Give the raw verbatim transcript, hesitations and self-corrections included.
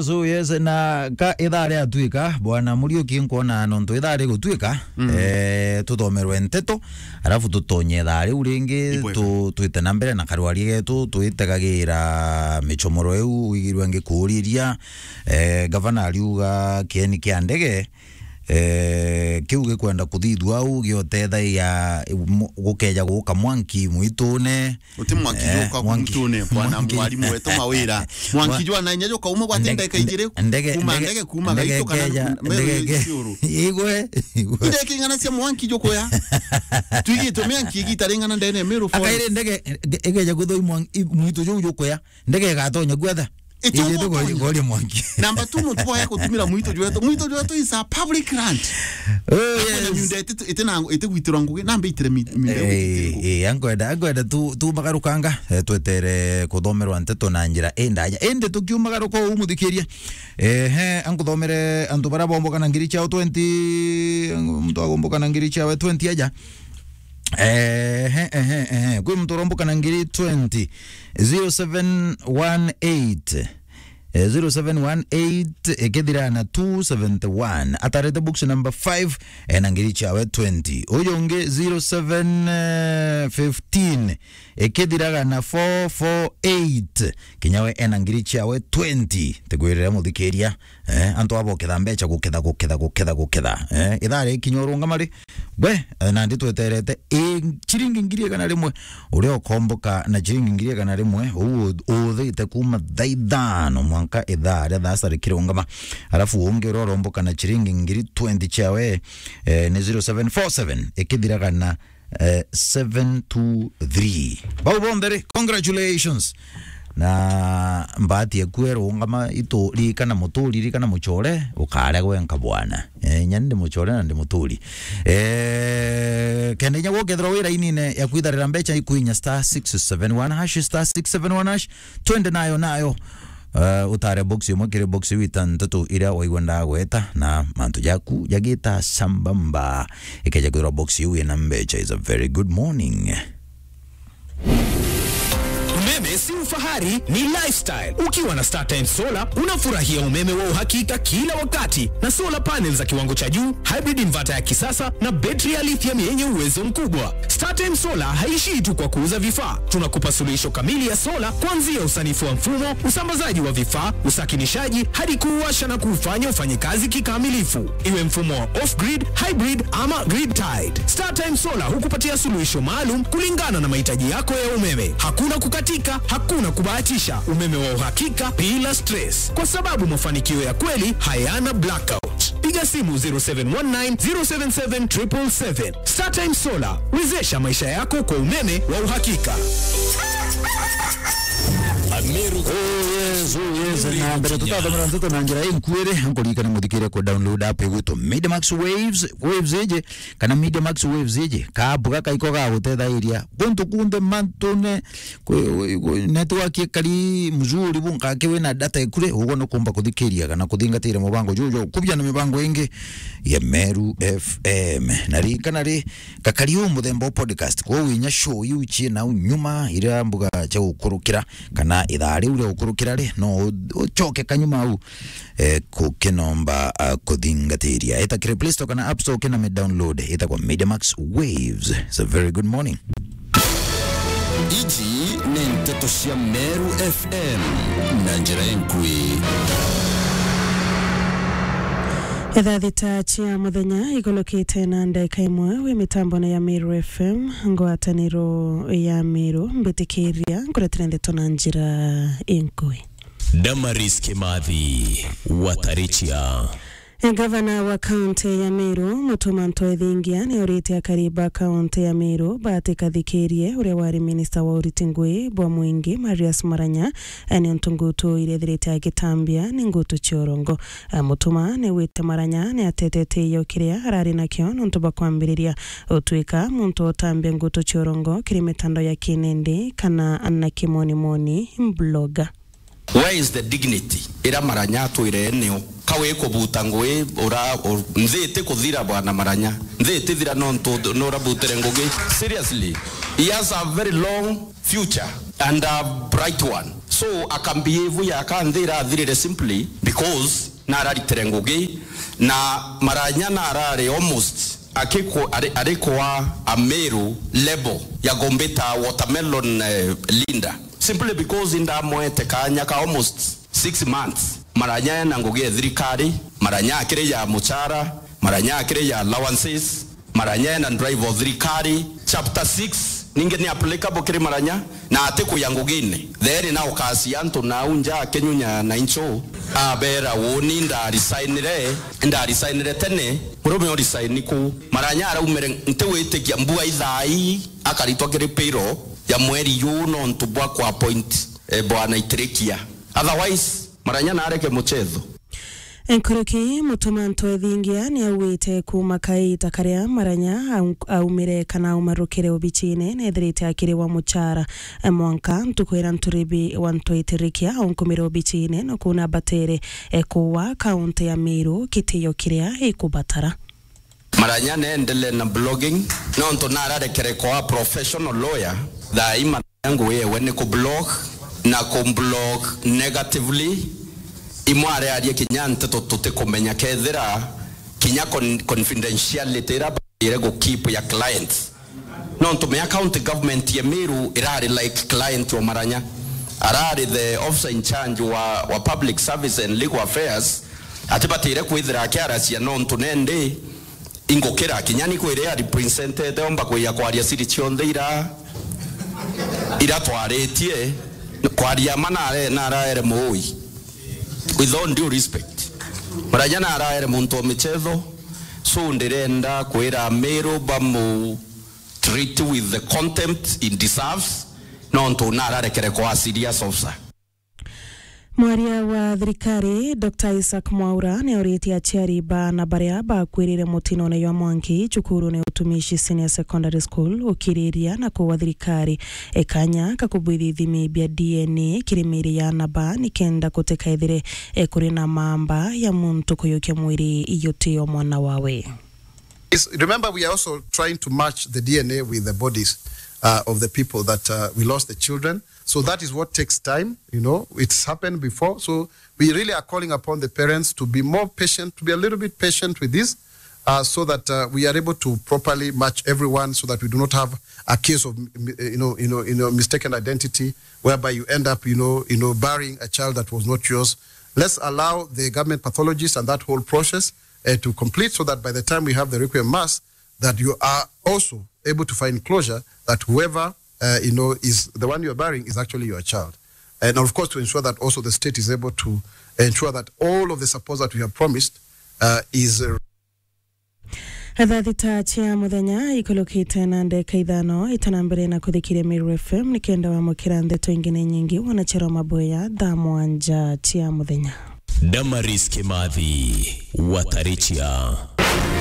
So yes, na ka ithaa riatuika, bwana Muriuki, nkwona nontu ithaa rigutuika, mm, eh, tuthomerwe nteto, arafu tutonye ithaa riu ringi, ibwega, tu-, twite na mbere na karwari getu, twitegagira michomoro iu wigirwe ngikuriria. Eh, gavana ariuga kieni kia ndege, eh, kiu gikwenda kuthithua au giotethagia mu-, gukeja guka mwanki mwitune. Uti mwanki, eh, juka mwanki, mutune, bwana mwanki. Mwarimu wetu Mawira. Mwanki jwa na inya juka ume gwate ndege, ndeka ijiri, ndege, kuma ndege, ndege, kuma ndege gaitu kana keja, me-, ndege ke-, ciuru. Igwe, igwe. Ndege ing'ana cia mwanki jukuya. Twigitwe mianki igita ring'ana ndene Meru Forest. Akaire ndege, nge-, igeja kuthoi mwanki, i-, mwitu juu jukuya. Ndege igatonya guothe. Iti ijite ugutonya. Gori, gori mwanki. Namba two, muntu bwaya kutumira mwitu jwetu. Mwitu jwetu is a public land. Oh, yes. Kwina miunda iti, iti na, iti gwitirwa ngugi, namba itire mi-, miunda eh, igitire ngugi. Eh, ankwenda, ankwenda tu, tu magarukanga, eh, twetere kuthomerwa nteto na njira indaya. Indi tukiumagaruka uu muthikiria. Ehe, ankuthomere antu bara bomboka na ngiri ciao twenty, muntu agomboka na ngiri ciawe twenty aja. Ehe, ehe, ehe. Kwi muntu uromboka na ngiri twenty. Zero seven one eight. Eh, zero seven one eight, ikithira na two seventy-one. Atarete box number five, ena ngiri ciawe twenty. Uyu ungi zero seven fifteen, ikithiraga na four four eight. Kinya we ena ngiri ciawe twenty. Tikwirira muthikiria. Eh, antu abo guketha mbeca, guketha, guketha, guketha, guketha. Eh, ithaa rikinya urungama ri, we, eh, nandi tweterete, eh, ciringi ngiri igana rimwe, uria ukomboka na ciringi ngiri igana rimwe, uu u-, uthite kuma thaa ithano mwanka ithaa ria thaasa rikirungama. Arafu ungi uria uromboka na ciringi ngiri twenty ciawe, eh, ni zero seven four seven, ikithiraga na eh, seven two three. Bau bonthe ri, congratulations. Na mbati eku erungama itu, ririkana muturi, ririkana muchore, ukaria gwenka bwana. Eh, inya ndi muchore na ndi muturi. Eh, kenda inya gukethirwa wi rainine ya kwitharira mbeca, ikwinya star six seven one hash, star six seven one hash, twende nayo, nayo. Eh, utare box imwe kiri box iu itantatu iria waigua ndagweta, na mantu jaku jagita sambamba. Ikeja kwithirwa box iu ina mbeca, is a very good morning. Umeme si ufahari, ni lifestyle. Ukiwa na StarTimes Solar, unafurahia umeme wa uhakika kila wakati, na solar panels za kiwango cha juu, hybrid inverter ya kisasa, na betri ya lithium yenye uwezo mkubwa. StarTimes Solar haishii tu kwa kuuza vifaa. Tunakupa suluhisho kamili ya sola, kuanzia usanifu wa mfumo, usambazaji wa vifaa, usakinishaji, hadi kuuwasha na kuufanya ufanye kazi kikamilifu. Iwe mfumo wa off-grid, hybrid ama grid-tied, StarTimes Solar hukupatia suluhisho maalum kulingana na mahitaji yako ya umeme. Hakuna kukatika, hakuna kubahatisha, umeme wa uhakika bila stress, kwa sababu mafanikio ya kweli hayana blackout. Piga simu zero seven one nine, zero seven seven, triple seven. StarTimes Solar, wezesha maisha yako kwa umeme wa uhakika. Ameru. Oh, yes, oh, yes. Na mbere tutathomera nteto na njira inkuiri, nkuririkane muthikirie ku download app igwitu Media Max Waves, Waves iji, kana Media Max Waves iji, ka app gaka iko gagutethairia guntu kunthe mantune, kwi, kwi, network ikari mzuri, bu nkaki wina data ikure, uguo nukumba kuthikiria kana kuthingatira mubango juju, kubia na mibango ingi ya Meru F M. Na ririkana ri, gakari uu muthemba wa podcast, kwou inya show iu ciina au nyuma, iria mbuga cia gukurukira, kana ithaa riu ria gukurukira ri, no u-, ucoke kanyuma au, eh, kukinomba, ah, kuthingatiria. Eta kiri Play Store kana App Store, ukina mi download, itagwa Media Max Waves. It's a very good morning. Iji ni nteto cia Meru F M na njira inkui. Ithaa thita cia muthenya igulukite na ndagika imwe, wi mitambone ya Meru F M, ngwataniro ya Meru, mbitikiria nkuretera ndeto na njira inkui. Damaris Kimathi, Watarichia. Gavana wa kaunti ya Meru, Mutuma Ntoithingia, ni aurite akari ba kaunti ya Meru batikathikirie uria wari minista wa uriti ngui bwa mwingi, Marius Maranya, ni untu ngutu iria ithirite agitambia ni ngutu cia urongo. Mutuma ni wite Maranya ni atetete iyo kiria arari nakio nontu bwa kwambiriria utuika muntu utambia ngutu cia urongo kiri mitandao ya kinendi kana na kimonimoni, blogger. Where is the dignity ira Maranya atwire nio? Ka wi kubuta ngui ura, u-, nthi iti kuthira, bwana Maranya. Nthi iti thira nontu nurabutire ngugi. Seriously, he has a very long future and a bright one. So akambehave ya kanthi irathirire simply because nararitire ngugi, na Maranya narari almost akiko-, ari-, arikwa a Meru level ya kumbita watermelon, eh, leader, simply because indamwete kanya ka almost six months. Maranya ena ngugi ya thirikari, Maranya akiri ya muchara, Maranya akiri ya allowances, Maranya ena drive o thirikari. Chapter six ningi ni applicable kiri Maranya, na ati kuya ngugine. Then na ukasia antu nau nja akinyunya na incho, abera, "Uuni ndarisignire, ndarisignire tene, murume urisign ku?" Maranya araumire, ntiwitikia mbua ithai, akaritwa kiri payroll ya mweri yu nontu bwa ku appoint, eh, bwana Itirikia. Otherwise, Maranya nareke muchetho. Nkuruki, Mutuma Ntwethingia ni auite kuuma kaita karia Maranya au-, aumire kana aumarukire obicine, nethirite akiri wa muchara, eh, mwanka ntuku iria Nturibi wa Ntwetirikia aunkumire obicine na kuuna batere, eh, kuwa kaunti ya Meru kitio kiria ikubatara. Maranya neendelee na blogging, nontu nararekere kwa professional lawyer, thaa ii Maranya ngugi yewe ni kublog, na kublog negatively. Imwe ariaria kinya nteto tutikumenya kethira kinya con-, confidentiality iria baire gukeep ya clients. Nontu mea county government ya Meru irari like client wa Maranya. Arari the officer in charge wa, wa public service and legal affairs, atibatire kwithira akiaracia nontu nendi ingukira kinya ni kwire ya representete omba kuya kwaria siri cionthe ira, ira twaritie, kwaria ma nare-, naraere muui. With all due respect, Maranya naraere muntu wa michetho, so ndirenda kwira Meru bamu treat with the contempt he deserves, nontu nararekere kwa serious officer. Mwaria wa thirikari, Doctor Isaac Mwaura, ni auritie aciari baana baria bakwirire mutinone jwa mwanki cukurune Utumishi Senior Secondary School gukiriria na kuwa thirikari e kanya ka kubwithia ithimi bia D N A kiri miiri ya aana ba, nikenda gutikaethire, e, kuri na mamba ya muntu kuyukia mwiri yutio mwana wawe. Is, remember, we are also trying to match the D N A with the bodies, uh, of the people that, uh, we lost the children. So that is what takes time, you know, it's happened before. So we really are calling upon the parents to be more patient, to be a little bit patient with this, uh, so that, uh, we are able to properly match everyone so that we do not have a case of, m-, m-, you know, you know, you know, mistaken identity whereby you end up, you know, you know, burying a child that was not yours. Let's allow the government pathologists and that whole process, uh, to complete so that by the time we have the requiem mass, that you are also able to find closure that whoever, uh, you know, is the one you are burying is actually your child. And of course, to ensure that also the state is able to ensure that all of the support that we have promised, uh, is, uh, Thaa thita cia muthenya ikulukite na ndeka ithano, itana mbere na kuthikiria Meru F M, nikenda wamukira ndeto ingi na inyingi, wanachero maboya thaa mwanja cia muthenya. Damaris Kimathi, Watarichia.